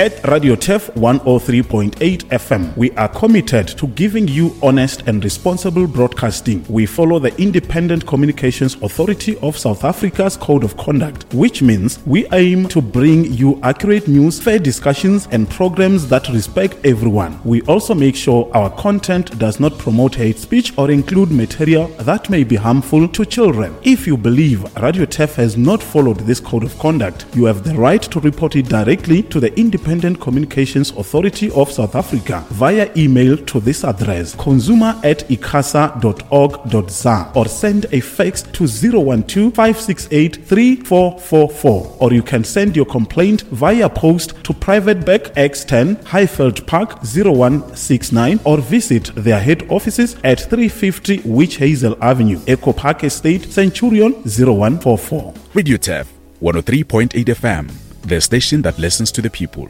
At Radio Turf 103.8 FM, we are committed to giving you honest and responsible broadcasting. We follow the Independent Communications Authority of South Africa's Code of Conduct, which means we aim to bring you accurate news, fair discussions, and programs that respect everyone. We also make sure our content does not promote hate speech or include material that may be harmful to children. If you believe Radio Turf has not followed this code of conduct, you have the right to report it directly to the Independent Communications Authority of South Africa via email to this address consumer at icasa.org.za or send a fax to 012 568 3444 or you can send your complaint via post to Private Bank X10 Highveld Park 0169 or visit their head offices at 350 Witch Hazel Avenue, Echo Park Estate, Centurion 0144. Radio Turf 103.8 FM, the station that listens to the people.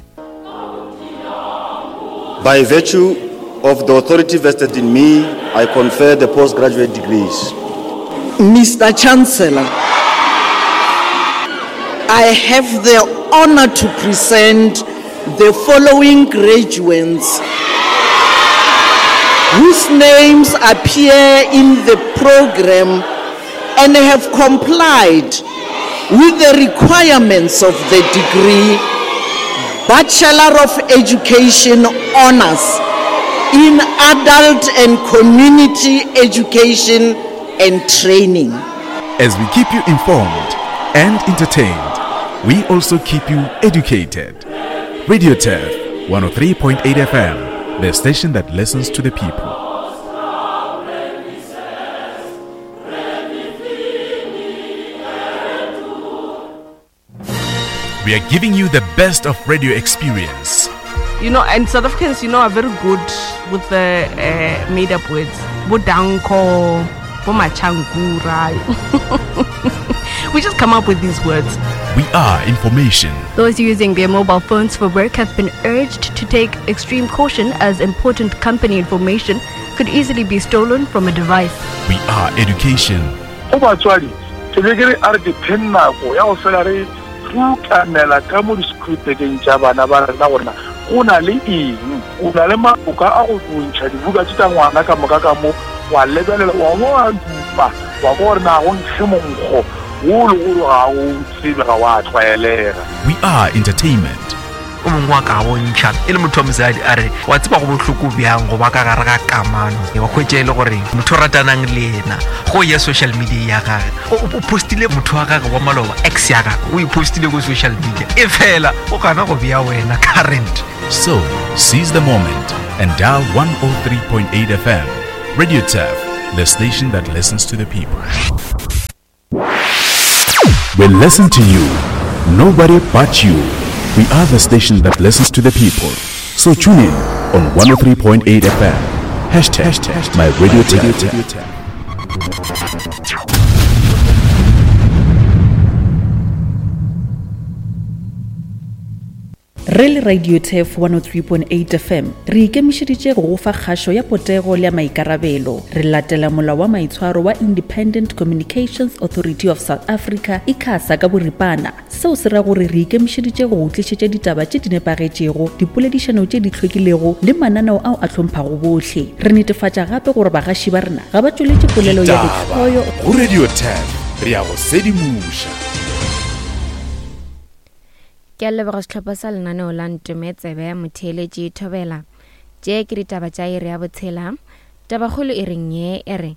By virtue of the authority vested in me, I confer the postgraduate degrees. Mr. Chancellor, I have the honor to present the following graduates whose names appear in the program and have complied with the requirements of the degree Bachelor of Education Honors in Adult and Community Education and Training. As we keep you informed and entertained, we also keep you educated. Radio Turf 103.8 FM, the station that listens to the people. We are giving you the best of radio experience. You know, and South Africans, you know, are very good with the uh, made up words. Bodanko, Bomachankura. we just come up with these words. We are information. Those using their mobile phones for work have been urged to take extreme caution as important company information could easily be stolen from a device. We are education. Go batswadi, ke be ke re a re dipheng nako ya go fela re rukanela ka mo di-screwpekeng tša bana ba rena gore na go na le eng. O na le maboka a go ntšha dibuka tše tša ngwana ka moka ka mo, wa lebelela, wa bo wa dupa, wa kwa gore na go nkge monkgo wo le gore ga o tsebe, ga wa tlwaelega. We are entertainment. O mongwe wa ka bontšha e le motho wa mosadi a re wa tseba go bohloko bjang go ba ka gare ga kamano wa hwetša e le gore motho o ratanang le yena go ya social media ya gage o postile motho wa gage wa maloba ex ya gage o e postile ko social media e fela o gana go bea wena current. So, seize the moment and dial 103.8 FM. Radio Turf, the station that listens to the people. We listen to you, nobody but you. We are the station that listens to the people. So tune in on 103.8 FM. Hashtag my radio tap. Re le Radio Turf 103.8 FM, re ikemišeditše go go fa kgašo ya potego le ya maikarabelo. Re latela molao wa maitshwaro wa Independent Communications Authority of South Africa, ICASA, ka boripana. Seo se ra gore re ikemišeditše go go tlišetša ditaba tše di nepagetšego, dipoledišano tše di hlwekilego le mananeo ao a hlomphago bohle. Re netefatša gape gore bagaši ba rena ga ba tšweletše polelo ya Ditaba lehloyo, go Radio Turf, re a go sedimoša. Ke a leboga sehlopha sa lenaneo la Ntome Tsebe ya Motheeletši Thobela. Tše ke ditaba tša iri ya botshela. Tabakgolo e reng ye e re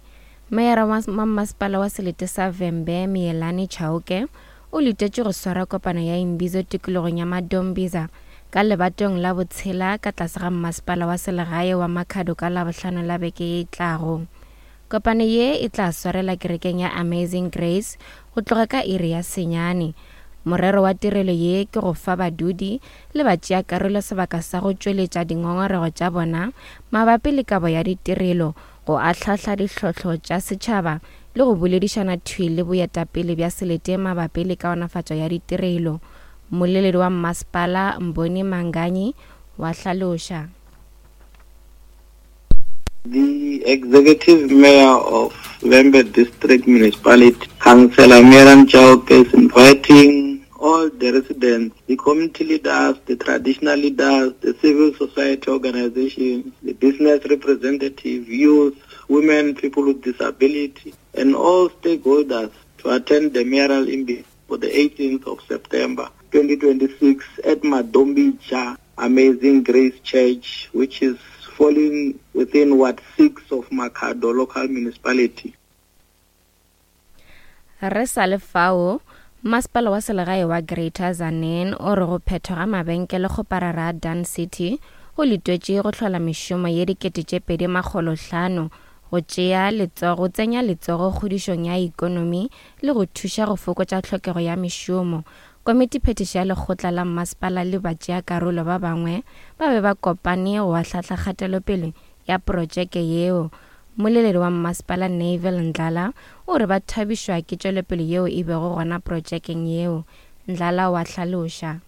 Meyara wa mmasepala wa selete sa Vhembe Miyelani Chauke o letetše go swara kopano ya Imbizo tikologong ya Madombiza ka lebatong la botshela ka tlase ga mmasepala wa selegae wa Makhado ka Labohlano la beke ye e tlago. Kopano ye e tla swarela kerekeng ya Amazing Grace go tloga ka iri ya senyane. Morero wa tirelo ye ke go fa badudi le batšeakarolo sebaka sa go tšweletša dingongorego tša bona mabapi le kabo ya ditirelo, go ahlahla dihlotlo tša setšhaba le go boledišana thwi le boetapele bja selete mabapi le kaonafatšo ya ditirelo, mmoleledi wa mmasepala Mboni Manganyi wa hlaloša. The Executive Mayor of Vhembe District Municipality, Councillor Miran Chauke, is inviting all the residents, the community leaders, the traditional leaders, the civil society organizations, the business representatives, youth, women, people with disability, and all stakeholders to attend the mayoral imbizo for the 18th of September 2026 at Madombicha Amazing Grace Church, which is falling within Ward 6 of Makhado local municipality. Re sa le fao, Masepala wa Selegae wa Greater Tzaneen o re go phethwa ga mabenkele kgoparara a Dun City go letwetše go hlola mešomo ye 2500, go tšea letsogo, go tsenya letsogo kgodišong ya ekonomi le go thuša go fokotša tlhokego ya mešomo. Komitiphethiši ya lekgotla la mmasepala le batšeakarolo ba bangwe ba be ba kopane go ahlahla kgatelopele ya protšeke yeo. Mmoleledi wa mmasepala Neville Ndlala o re ba thabišwa ke tšwelopele yeo e bego gona protšekeng yeo. Ndlala o a hlaloša.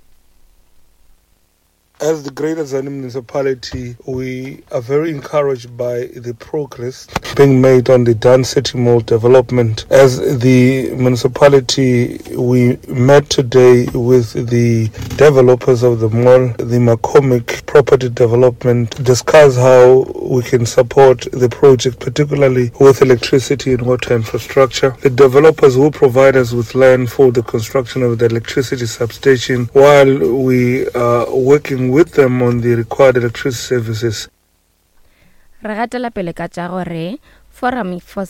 As the Greater Tzaneen Municipality, we are very encouraged by the progress being made on the Dun City Mall development. As the municipality, we met today with the developers of the mall, the McCormick Property Development, discuss how we can support the project, particularly with electricity and water infrastructure. The developers will provide us with land for the construction of the electricity substation while we are working with them on the required electricity services. Re gatela pele ka tša gore Forum for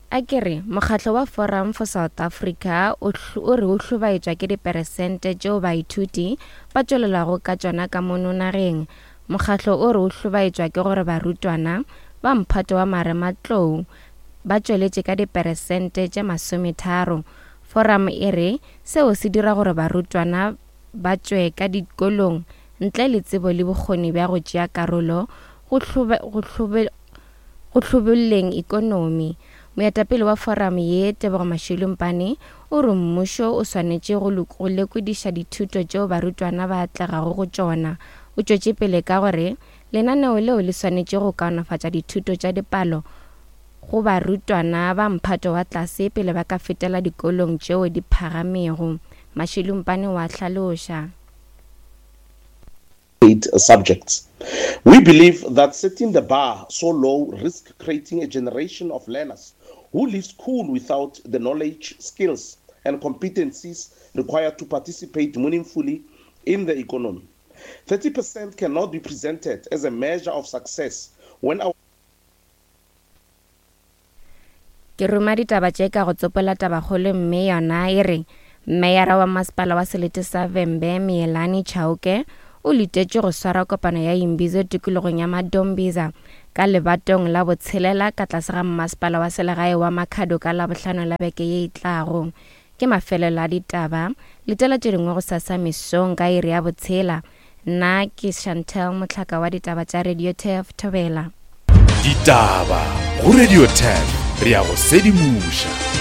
a ke re mokgatlo wa Forum for South Africa o o re o hlobaetšwa ke diperesente tšeo baithuti ba tšwelelago ka tšona ka mono nageng. Mokgatlo o re o hlobaetšwa ke gore barutwana ba mphato wa marematlou ba tšweletše ka diperesente tše masometharo. Forum e re seo se dira gore barutwana ba tšwe ka dikolong ntle le tsebo le bokgoni bja go tšea karolo go go hlobolleng ikonomi. Moetapele wa foramo ye, Tebogo Mashilo-Mpane, o re mmušo o swanetše go go lekodiša dithuto tšeo barutwana ba atlegago go tšona. O tšwetše pele ka gore lenaneo leo le swanetše go kaonafatša dithuto tša dipalo go barutwana ba mphato wa tlase pele ba ka fetela dikolong tšeo di phagamego. Mashilo-Mpane o a hlaloša. Subjects. We believe that setting the bar so low risks creating a generation of learners who leave school without the knowledge, skills, and competencies required to participate meaningfully in the economy. 30% cannot be presented as a measure of success when our Ke ruma ditaba tše ka go tsopola tabakgolo mme yona e re Meyara wa Masepala wa Selete sa Vhembe Miyelani Chauke o letetšwe go swara kopano ya Imbizo tikologong ya Madombiza ka lebatong la botshelela ka tlase ga Mmasepala wa Selegae wa Makhado ka Labohlano la beke ye e tlago. Ke mafelelo a ditaba. Letela tše dingwe gosasa mesong ka iri ya botshela. Nna ke Chantel Mohlaka wa ditaba tša Radio Turf Thobela. Ditaba go Radio Turf re ya go sedimoša.